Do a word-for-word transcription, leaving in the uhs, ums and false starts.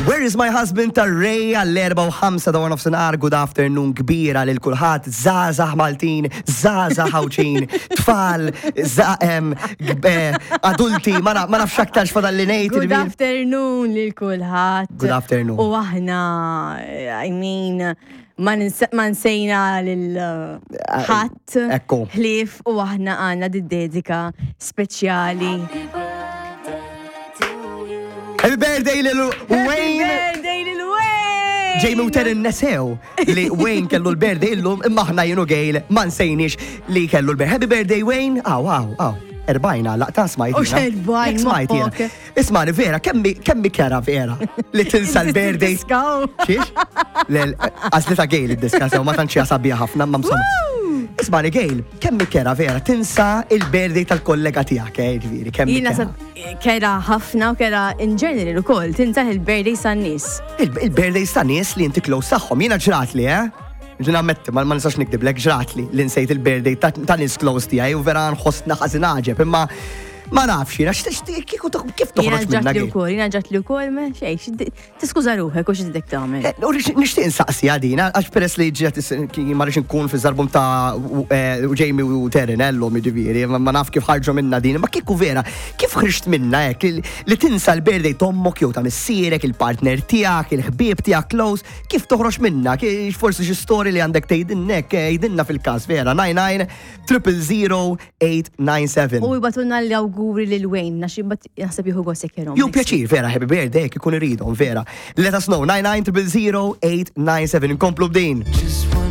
Where is my husband ta' Ray għall-erba u ħamsa ta' nofsinhar, good afternoon kbira lil kulħadd, żgħażagħ Maltin, żgħażagħ Għawdxin, tfal, za- em, g- eh, adulti, ma na- ma nafx aktar x'fadal li ngħid. Good ġifieri. afternoon lil kulħadd. Good afternoon. U aħna, I mean, ma nins- ma nsejna lil ħadd. Ekku. Ħlief u aħna għandna di dedika speċjali. Happy birthday lil Wayne! Happy birthday lil Wayne! Jamie u Terin nesew li Wayne kellu l-birthday illum imma aħna jien u Gail ma nsejniex li kellu l-birthday. Happy birthday, Wayne! Aw, aw, aw. Erbajna, laqta smajt. U jiena. x'erbajn, Jekk smajt jiena. moħħok. Ismani, vera, kemmi kemmi kera vera li tinsa l-birthday. Diskaw. Xiex? Lel, għazli ta' Gail id-diska sew, ma tantx sabiħa ħafna, ma msomma. Ismani, Gail, kemmi kera vera, tinsa il-birthday tal-kollega tiegħek, eh, ġifieri, kemmi Jina kera. sab kera ħafna u kera in general ukoll, tinsa il-birthday tan-nies. Il- Il-birthday ta' nies li inti close tagħhom, jiena ġratli, eh? Ġina ammetti, ma ma nistax nikdiblek, ġratli li nsejt il-birthday ta' ta' nies close tiegħi u vera nħossna ħażin għaġeb, imma ma nafx jiena, x'tixtieq kieku toħ- kif Jina toħroġ minna ġratli Gail? ukoll, jina ġratli ukoll, ma xej, xid- tiskuża ruħek u x'idek tagħmel. Eh, U rix- nixtieq insaqsi għadina, għax peress li ġiet ma rridx nkun fi żarbum ta' u- eh, u Jamie u Terin ellum jiġifieri, ma ma naf kif ħarġu minna din, ma kieku vera, kif ħriġt minna hekk li- li tinsa l-birthday t'ommok jew ta' missierek, il-partner tiegħek, il-ħbieb tiegħek close, kif toħroġ minna? Kif forsi xi story li għandek tgħidilnek, tgħidilna fil-każ vera, nine nine triple zero eight nine seven. U jibagħtulna l-awguri lil Wayne, għax jibgħat naħseb jieħu gost jekk jerahom. Ju pjaċir, vera, happy birthday, jekk ikun iridhom, vera. Let us know, nine nine triple zero eight nine seven, nkomplu b'din. Just one